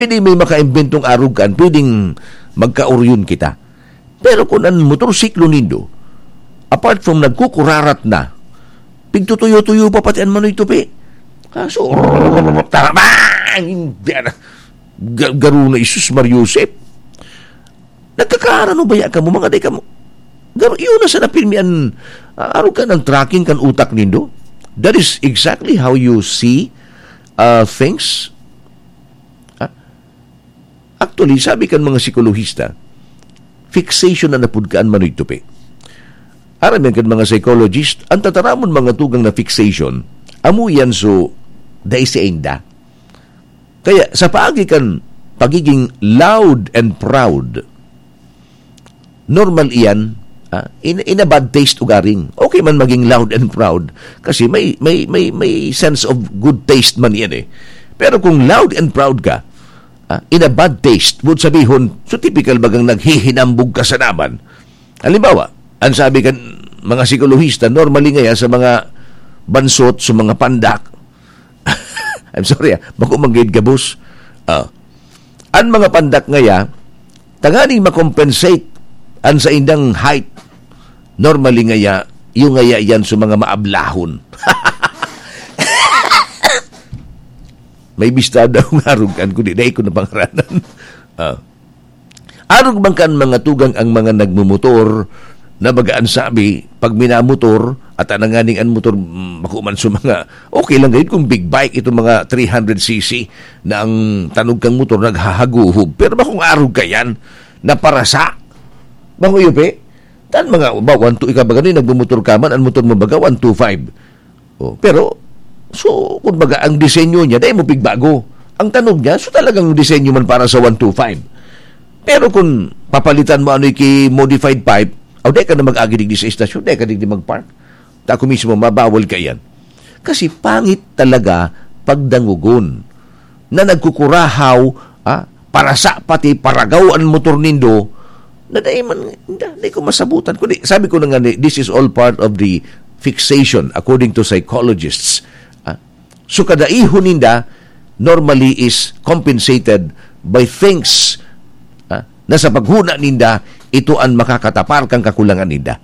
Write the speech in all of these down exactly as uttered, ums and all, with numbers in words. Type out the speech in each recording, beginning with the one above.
Pwede may makaimbentong arog kan, pwedeng magkaoryon kita. Pero kung ang motorsiklo nindo, apart from nagkukurarat na, pigtutuyo-tuyo pa pati ang manoy tupi. Kaso, tara ba? Hindi na. Ga-, garo na, Jesus Mario Joseph. Nagkakaarano baya kamo, mga day kamo? Garo, yun na sana pirmi an, ah, arog kan tracking kan utak nindo. That is exactly how you see, ah, things. Ah, actually, sabi kan mga psikolohista, fixation na napud ka an manoy tupi. Aram yan kan mga psychologist, ang tataramon mga tugang na fixation, amo yan so, dai sainda. Kaya, sa paagi kan pagiging loud and proud, normal iyan, ah, in, in a bad taste ugaring. Okay man maging loud and proud, kasi may, may, may, may sense of good taste man iyan eh. Pero kung loud and proud ka, ah, in a bad taste, would sabihon, so typical bagang naghihinambog ka sa naman. Halimbawa, ang sabi kan mga psikolohista, normally ngaya sa mga bansot, sa mga pandak, I'm sorry, ah, bako manggid gabos. Ah, ang mga pandak ngaya, tanganing makompensate ang saindang height. Normally ngaya, yung ngaya yan sa mga maablahon. May bista daw nga arog kan, kundi dai ko na pangaranan. Ah. Arog man kan mga tugang ang mga nagmumotor na baga an sabi, pag minamotor, at ananganing an motor, mm, bako man sa mga, okay lang gayud kung big bike, itong mga three hundred C C na ang tanog kang motor naghahaguhob. Pero bakong arog ka yan, na parasa. Bako yupi, tan mga, ba, one two, ikaw ba gano'n, nagmumotor ka man, ang motor mo baga, one two five. Oh, pero, so, kumbaga, ang disenyo niya, dai mo pigbago. Ang tanog niya, so talagang disenyo man para sa one two five. Pero kung papalitan mo ano'y ki-modified pipe, o dai ka na mag-agi digdi sa estasyon, dai ka digdi mag-park. Ta ako mismo, mabawal ka iyan. Kasi pangit talaga pagdangogon na nagkukurahaw, ah, parasa pati paragaw an motor nindo, na dai man, da-, dai ko masabutan. Kundi, sabi ko na nga ni, this is all part of the fixation, according to psychologists. Ah, so, kadaihon ninda normally is compensated by things, ah, na sa paghuna ninda, ito an makakatapar kan kakulangan ninda.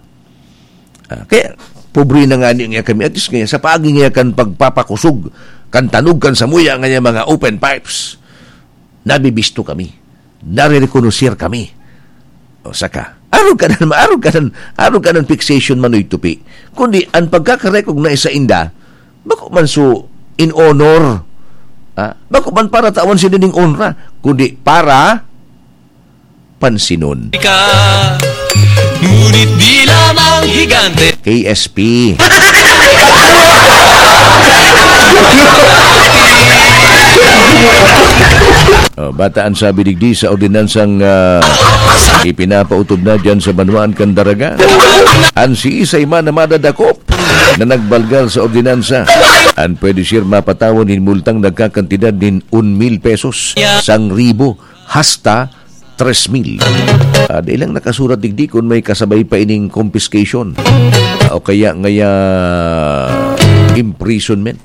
Ah, kaya, pobre na nga niya kami. At least ngayon, sa paagi ngayon kan pagpapakusog, kan tanog, kan samuya ngayon mga open pipes, nabibisto kami. Nare-reconocer kami. O, saka, arog ka nan, arog ka nan, arog ka nan fixation manoy tupi. Kundi, ang pagkaka-recognize sa inda, bako man so in honor, ah, bako man para tawan sila ning honra, kundi para pansinon. Ka, ngunit di lamang higante. K S P. Oh, bata an sabi digdi sa ordinansang, ah, ipinapautob na diyan sa banwaan kan Daraga. An siisay man na madadakop na nagbalgal sa ordinansa, an pwede siya mapatawan nin multang nagkakantidad nin un mil pesos, sang ribo, hasta tres mil. Ah, dai lang nakasurat digdi kun may kasabay pa ining confiscation. Ah, o kaya ngaya imprisonment.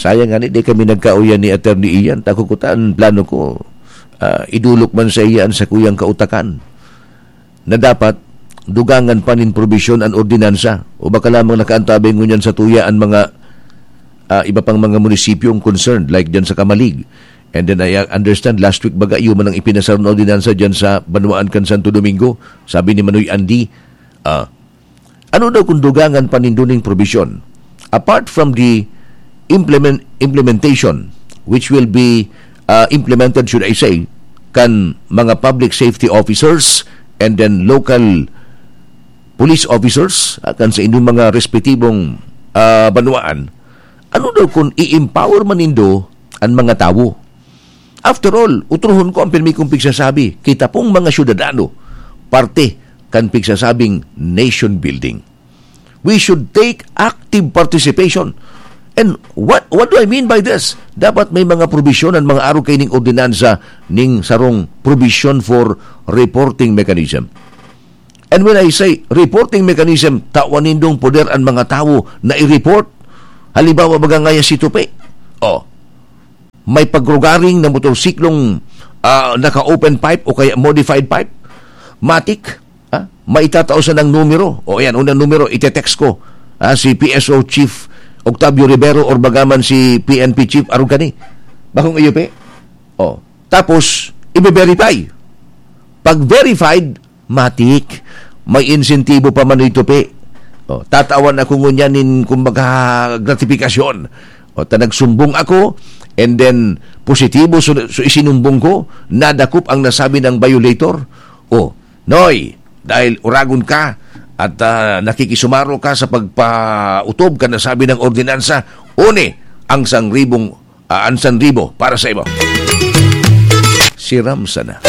Sayang nga ni, di kami nagkauyan ni Attorney Ian. Tako ko ta, ang plano ko, ah, idulok man sa iya an sakuyang kautakan na dapat dugangan pa nin probisyon an ordinansa o baka lamang nakaantabay ngunyan sa tuya an mga, ah, iba pang mga munisipyong concerned, like dyan sa Camalig. And then I understand last week baga, iyo man ang ipinasar na ordinansa dyan sa banwaan kan Santo Domingo. Sabi ni Manoy Andy, ah, ano daw kung dugangan pa nindo ning probisyon? Apart from the implement-, implementation, which will be, ah, implemented, should I say, kan mga public safety officers and then local police officers, ah, kan sa inyong mga respetibong, ah, banwaan, ano daw kung i-empower man nindo an mga tawo? After all, utrohon ko ang pirmi kong pigsasabi, kita pong mga syudadano, parte kan pigsasabing nation building. We should take active participation. And what, what do I mean by this? Dapat may mga probisyon an mga arog kaining ordinansa ning sarong provision for reporting mechanism. And when I say reporting mechanism, tawan nindong poder an mga tawo na i-report. Halimbawa, baga ngaya si Tupi. Oh, May pagrugaring na motorsiklong, ah, naka-open pipe o kaya modified pipe? Matik, ah, maitatao sa nang numero. O yan, unang numero, ite-text ko. Ah, si P S O Chief Octavio Rivero or bagaman si P N P Chief Arugani. Bakong iyo, pe? O, tapos, ibe-verify. Pag verified, matik, may insentibo pa man ito, pe. O, tatawan ako ngunyan nin, kumbaga, gratifikasyon. O, ta nagsumbong ako, and then, positibo so, so isinumbong ko, nadakop ang nasabi ng violator. O, Noy, dahil uragon ka at, ah, nakikisumaro ka sa pagpautob kan nasabi ng ordinansa, uni ang sangribong, ah, ang sanribo para sa imo. Siram sana.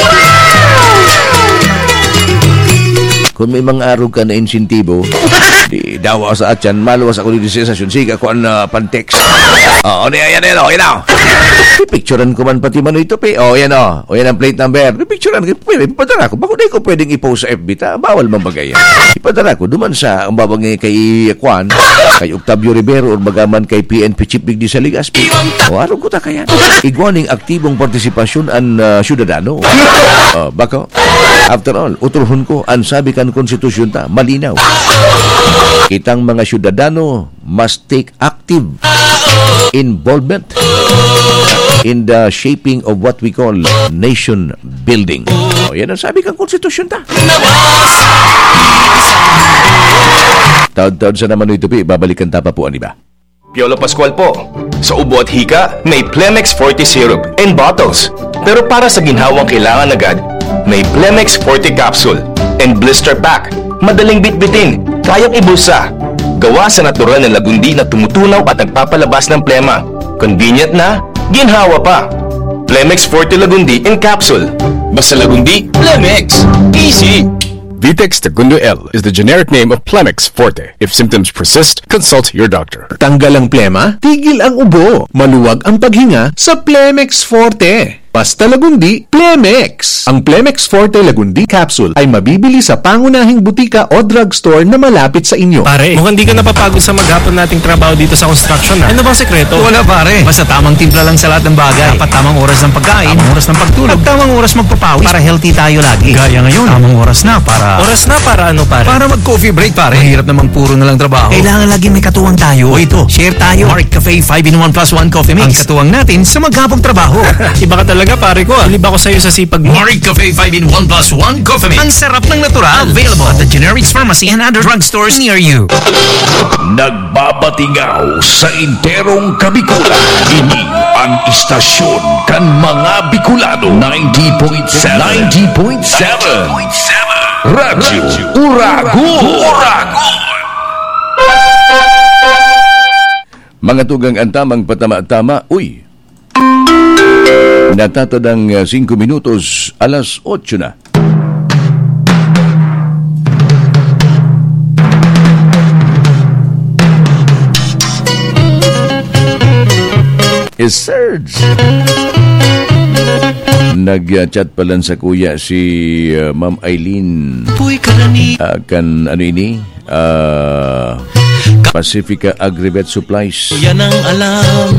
Kung may mga arog ka na insentibo, di dawa sa atyan, maluwas ako dito sa estasyon. Sige, ako ang, ah, pan-text. Oh, ano yan, yan, yan, oh, yan, oh. Pipicturan ko man pati man ito, pe. Oh, yan, oh. O, yan ang plate number. Pipicturan ko, pwede, ipadara ko. Bako di ko pwedeng i-post sa F B ta. Bawal man bagay yan. Ipadara ko, duman sa, ang babang kay, kwan, kay Octavio Rivero or bagaman kay P N P Chief Digdi sa Ligas. O, arog ko ta kaya. Igwa ning aktibong partisipasyon an, ah, syudadano. Oh, bako. After all, utrohon ko, ang sabi kan konstitusyon ta, malinaw. Kitang mga syudadano must take active involvement in the shaping of what we call nation building. O, yan ang sabi kan konstitusyon ta. Taod-taod sa naman ito, pi, babalikan ta pa po, ano ba? Piolo Pascual po. Sa ubo at hika, may Plemex Forte Syrup in bottles. Pero para sa ginhawang kailangan agad, may Plemex Forte Capsule and Blister Pack. Madaling bitbitin, kayang ibulsa. Gawa sa natural na lagundi na tumutunaw at nagpapalabas ng plema. Convenient na, ginhawa pa. Plemex Forte Lagundi in Capsule. Basta Lagundi, Plemex. Easy! Vitex Tagundo L is the generic name of Plemex Forte. If symptoms persist, consult your doctor. Tanggal ang plema, tigil ang ubo, maluwag ang paghinga sa Plemex Forte. Basta Lagundi, Plemex. Ang Plemex Forte Lagundi Capsule ay mabibili sa pangunahing butika o drugstore na malapit sa inyo. Pare, mukhang di ka napapagod sa maghapon nating trabaho dito sa construction, ah. Ano bang sekreto? Wala, pare. Basta tamang timpla lang sa lahat ng bagay. Dapat tamang oras ng pagkain, tamang oras ng pagtulog, at tamang oras magpapawis para healthy tayo lagi. Gaya ngayon, tamang oras na para Oras na para ano, pare? Para mag-coffee break, pare. Mahirap namang puro na lang trabaho. Kailangan laging may katuwang tayo. O ito, share tayo. Mark Cafe five in one plus one Coffee Mix. Ang katuwang natin sa maghapong trabaho. Iba ka talaga, pare ko, ah. Bilib ako sa'yo sa sipag mo. Mark Cafe five in one plus one Coffee Mix. Ang sarap ng natural. Available at the Generics Pharmacy and other drugstores near you. Nagbabatingaw sa enterong Kabikulan. Ini ang istasyon kan mga Bicolano, ninety point seven. Ninety point seven. Radyo Uragon. Uragon. Mga tugang, ang tamang patama-tama, uy! Natatadang, ah, singko minutos, alas otso na. Is Serge. Nag-chat pa lang sa kuya si, ah, Ma'am Eileen. Puy karani. Ah, kan ano ini? Ah, Pacifica Agrivet Supplies. Yan ang alam.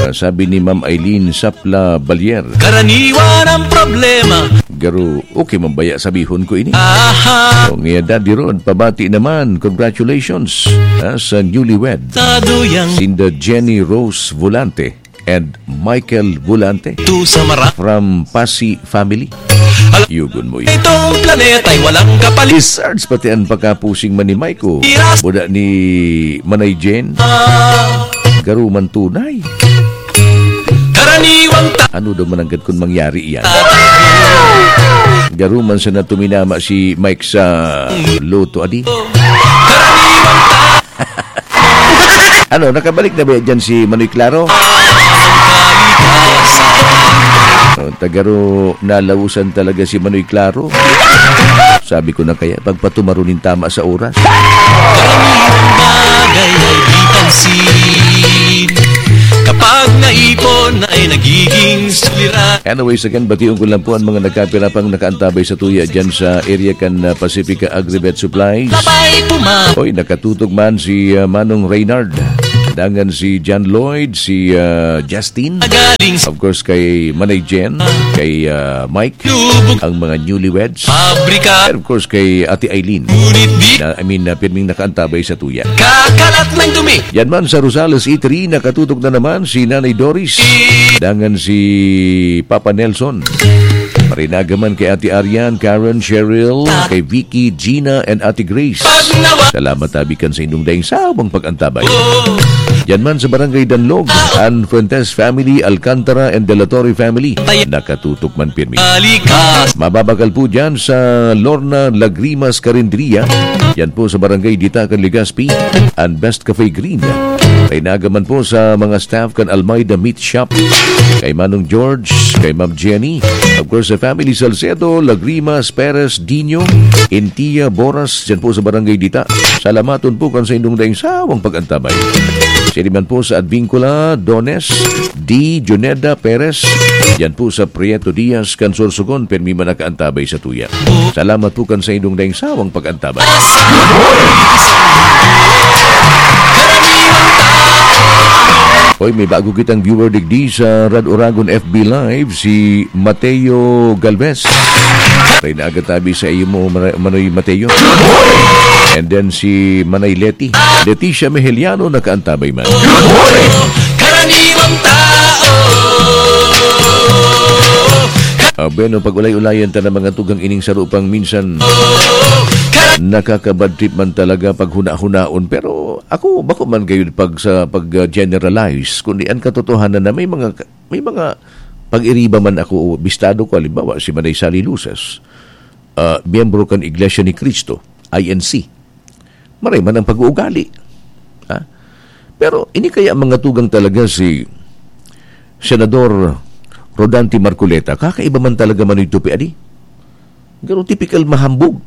Ah, sabi ni Ma'am Eileen Sapla Balier. Karaniwan ang problema. Garo, okay man baya sabihon ko ini? Aha. O nga, Daddy Rod, pabati naman. Congratulations, ah, sa newlywed. Tado yang Sinda Jenny Rose Volante and Michael Volante. Tu sa mara- From Pasi family. Al- Yugon mo yun. Itong planeta'y walang kapalit. I-search pati ang pagkapusing man ni Maiko. Yes. Buda ni Manay Jen. Ah. Garuman tunay. Karaniwang ta- Ano daw mananggad kung mangyari yan? Garuman sana tuminama si Mike sa loto, adi? Karaniwang ta- Ano, nakabalik na ba dyan si Manoy Claro? Oh, tagaro, nalausan talaga si Manoy Claro. Sabi ko na kaya, pagpatumaro nin tama sa oras. Karaniwang bagay ay di pansin. Kapag naipon na ay nagiging suliranin. Anyways, again, bation ko lang po ang mga nagkapira pang nakaantabay sa tuya dyan sa area kan, ah, Pacifica Agrivet Supplies. Labay puma- Oy, nakatutok man si, ah, Manong Reynard. Dangan si John Lloyd, si, ah, Justin. Of course, kay Manay Jen, kay, ah, Mike, ang mga newlyweds. And of course, kay Ate Eileen. Na, I mean, na pirming nakaantabay sa tuya. Kakalat ng dumi. Yan man sa Rosales Eatery, nakatutok na naman si Nanay Doris. Dangan si Papa Nelson. Marinaga man kay Ate Arian, Karen, Cheryl, kay Vicky, Gina, and Ate Grace. Salamat tabi kan sa indong daing sawang pag-antabay. Diyan man sa Barangay Danlog, an Fuentes family, Alcantara, and De La Torre family, nakatutok man pirmi. Mababakal po dyan sa Lorna Lagrimas Carinderia. Yan po sa Barangay Ditacan, Legazpi, an Best Cafe Green. Marinaga man po sa mga staff kan Almeida Meat Shop, kay Manong George, kay Ma'am Jenny, of course, sa family Salcedo, Lagrimas, Perez, Dino, Intia, Boras, dyan po sa Barangay Dita. Salamaton po kan sa indong daing sawang pag-antabay. Siya naman po sa Advincula, Dones, D, Juneda, Perez, dyan po sa Prieto Diaz, kan Sorsogon, pirmi man nakaantabay sa tuya. Salamat po kan sa indong daing sawang pag-antabay. Hoy, may bago kitang viewer digdi sa Rad Oragon F B Live, si Mateo Galvez. Tayo na agad tabi sa iyo mo, Manoy Mateo. And then si Manay Leti. Leticia Mejeliano, nakaantabay man. Karaniwang tao. Ah, bueno, pag-ulay-ulayan ta na mga tugang ining saro pang minsan nakaka-bad trip man talaga pag huna-hunaon. Pero ako, bako man gayud pag sa pag, ah, generalize, kundi ang katotohanan na may mga, may mga pag-iriba man ako o bistado ko, halimbawa, si Manay Sally Luces, ah, miyembro kan Iglesia ni Cristo, I N C. Maray man ang pag-uugali. Ha? Pero ini kaya mga tugang talaga si Senador Rodante Marcoleta, kakaiba man talaga Manoy Tupi, adi? Pero typical mahambog.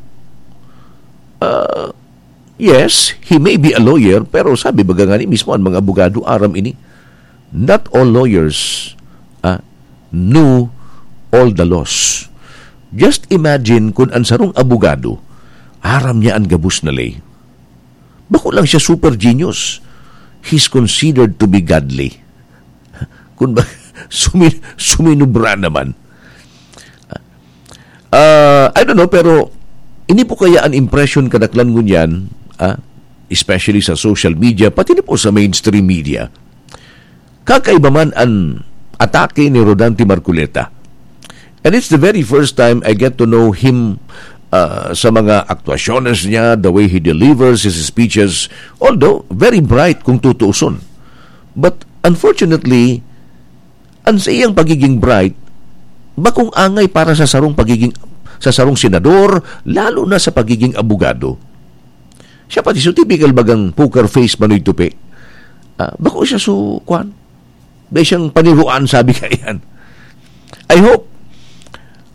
Ah, yes, he may be a lawyer, pero sabi baga nga ni mismo ang mga abogado, aram ini. Not all lawyers, ah, know all the laws. Just imagine kun an sarong abogado, aram niya an gabos na ley. Bako lang siya super genius. He's considered to be godly. Kun ba, sumi-, suminubra naman. Ah, I don't know, pero ini po kaya an impression kadaklan ngunyan, ah, especially sa social media, pati na po sa mainstream media. Kakaiba man an atake ni Rodante Marcoleta. And it's the very first time I get to know him, ah, sa mga aktuasyones niya, the way he delivers his speeches, although very bright kung tutuuson. But unfortunately, an sa iyang pagiging bright, bakong angay para sa sarong pagiging, sa sarong senador, lalo na sa pagiging abogado. Siya pati so typical bagang poker face, Manoy Tupi. Ah, bako siya so, kwan? Dai siyang paniruan, sabi kaiyan. I hope,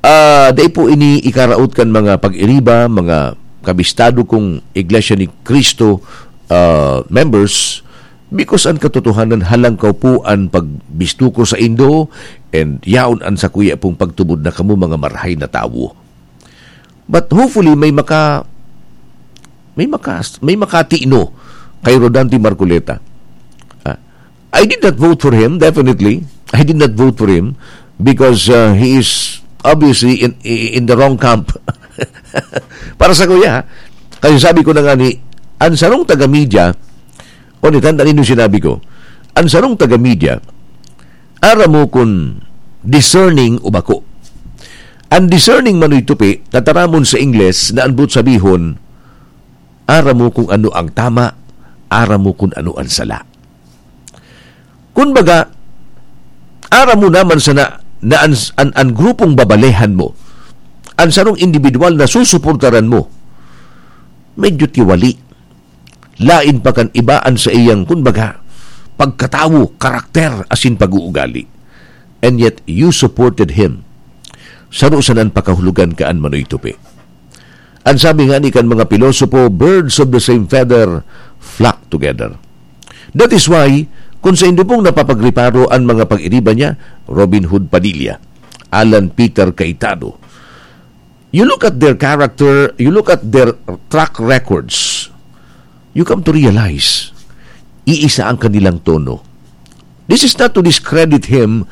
ah, dai po ini ikaraot kan mga pag-iriba, mga kabistado kong Iglesia ni Cristo, ah, members, because an katotohanan, halangkaw po an pagbisto ko saindo, and yaon an sakuya pong pagtubod na kamo mga marahay na tawo. But hopefully, may maka-, may maka-, may makatino kay Rodante Marcoleta. Ah, I did not vote for him, definitely. I did not vote for him because, uh, he is obviously in, in the wrong camp. Para sakuya, ha? Kasi sabi ko na nga ni, an sarong taga-media, o ni, tanda nindo sinabi ko, an sarong taga-media, aram mo kun discerning o bako. An discerning, Manoy Tupi, tataramon sa Ingles na an boot sabihon, aram mo kung ano ang tama, aram mo kung ano ang sala. Kun baga, aram mo naman sana na an, an, an grupong babalehan mo, an sarong individual na susuportaran mo, medyo tiwali. Lain pa kan iba an sa iyang, kun baga, pagkatawo, karakter, asin pag-uugali. And yet, you supported him. Saro sana an pakahulogan kan Manoy Tupi. An sabi nga ni kan mga pilosopo, "Birds of the same feather flock together." That is why, kung saindo pong napapagreparo an mga pag-iriba niya, Robin Hood Padilla, Alan Peter Cayetano, you look at their character, you look at their track records, you come to realize, iisa ang kanilang tono. This is not to discredit him